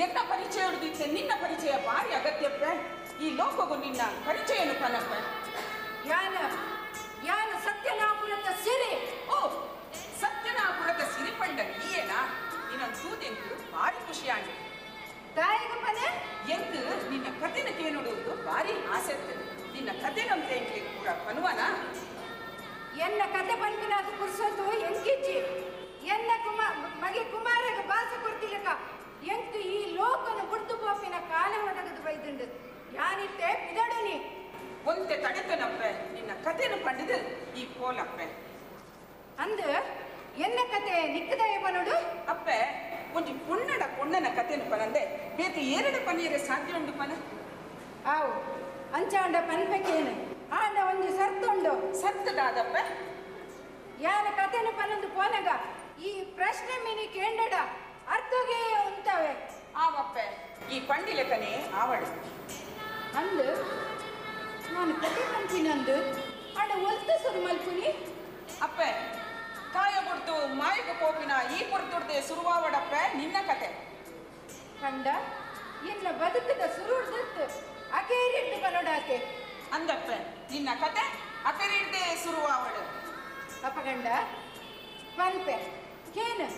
ಎನ್ನ ಪರಿಚಯ ಹಿಡಿದಿತ್ತೆ ನಿನ್ನ ಪರಿಚಯ ಭಾರಿ ಅಗತ್ಯಪ್ಪ. ಈ ಲೋಕಗೂ ನಿನ್ನ ಪರಿಚಯನು ಪನಪ್ಪ. ಯಾನ ಯಾನ ಸತ್ಯನಾಪುರದ ಸಿರಿ. ಓ, ಸತ್ಯನಾಪುರದ ಸಿರಿ ಪಂಡ ನೀಯೇನಾ? ನಿನ್ನ ತೂದೆಂಕು ಭಾರಿ ಖುಷಿಯಾಗಿ. ತಾಯಿಗಪ್ಪನೆ ಎಂಕು ನಿನ್ನ ಕಥೆನ ಕೇಳುವುದು ಭಾರಿ ಆಸೆ. ನಿನ್ನ ಕಥೆನಂತೆ ಎಂಕ್ಲಿಗೆ ಪೂರ ಪನುವನ? ಎನ್ನ ಕತೆ ಪನ್ಪಿನಾದ ಪುರ್ಸೊತ್ತು ಎಂಕಿಜ್ಜಿ. ಎನ್ನ ಮಗೆ ಕುಮಾರಗ ಬಾಸ ಕೊಡ್ತಿಲಕ ಎಂಕ್ ಈ ಲೋಕನ ಬುಡ್ದು ಪೋಪಿನ ಕಾಲ ಒದಗದು ಬೈದುಂಡು. ಯಾನಿತ್ತೆ ಪಿದಡುನಿ. ಒಂತೆ ತಡೆತನಪ್ಪೆ, ನಿನ್ನ ಕಥೆನ ಪಂಡಿದು ಈ ಪೋಲಪ್ಪೆ. ಅಂದು ಎನ್ನ ಕತೆ ನಿಕ್ಕದಯ ಬನೋಡು? ಅಪ್ಪೆ, ಒಂಜಿ ಪುಣ್ಣಡ ಪುಣ್ಣನ ಕಥೆನ ಪನಂದೆ ಬೇತೆ ಏರಡ ಪನ್ನೀರೆ ಸಾಧ್ಯ ಉಂಡು ಪನ? ಆವು ಅಂಚಾಂಡ ಪನ್ಪಕೇನು ಆಂಡ ಒಂಜಿ ಸರ್ತುಂಡು. ಸರ್ತದಾದಪ್ಪೆ? ಯಾನ ಕಥೆನ ಪನಂದು ಪೋನಗ ಈ ಪ್ರಶ್ನೆ ಮಿನಿ ಕೇಂಡಡ ಅರ್ಥಗೆ ಉಂಟವೆ. ಆವಪ್ಪೆ, ಈ ಪಂಡಿಲೆಕನೇ ಆವಡು. ಅಂದು ನಾನು ಕತೆ ಪನ್ಪಿನಂದು ಆಂಡ ಒಲ್ತ ಸುರು ಮಲ್ಪುನಿ? ಅಪ್ಪೆ, ಕಾಯ ಬುಡ್ದು ಮಾಯಕ ಪೋಪಿನ ಈ ಪುರ್ತುಡ್ದೆ ಸುರುವಾವಡಪ್ಪೆ ನಿನ್ನ ಕತೆ. ಕಂಡ ಎನ್ನ ಬದುಕದ ಸುರುಡ್ದತ್ತು ಅಕೇರಿಡ್ದು ಬನೋಡಾತೆ. ಅಂದಪ್ಪೆ, ನಿನ್ನ ಕತೆ ಅಕೇರಿಡ್ದೆ ಸುರುವಾವಡು. ಅಪಗಂಡ ಪನ್ಪೆ ಕೇನು.